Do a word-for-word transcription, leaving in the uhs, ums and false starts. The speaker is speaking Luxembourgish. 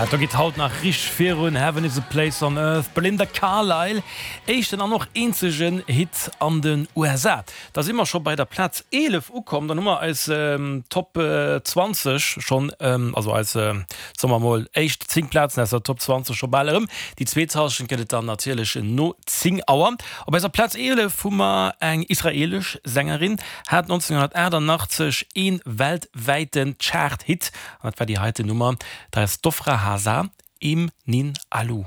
Do geet haut nach richteg virun, Heaven is a place on earth, Belinda Carlisle, éischten an och eenzegen Hit an den U S A. Da si mer scho bei der Plaz eelef ukomm, dann hu mer eis Top zwanzeg schonn, also eis, soe mer mol, éischt zéng Plazen aus der Top zwanzeg scho bal erëm. Déi zweet Hallschent gëtt et dann natierlech no zéng Auer. Op eiser Plaz eelef hu mer eng israeelesch Sängerin, hat nonzénghonnertaachtannachtzeg ee weltwäiten Chart-Hit, an dat war déi heiten Nummer, dat ass d'Ofra Haza, Im Nin Alu.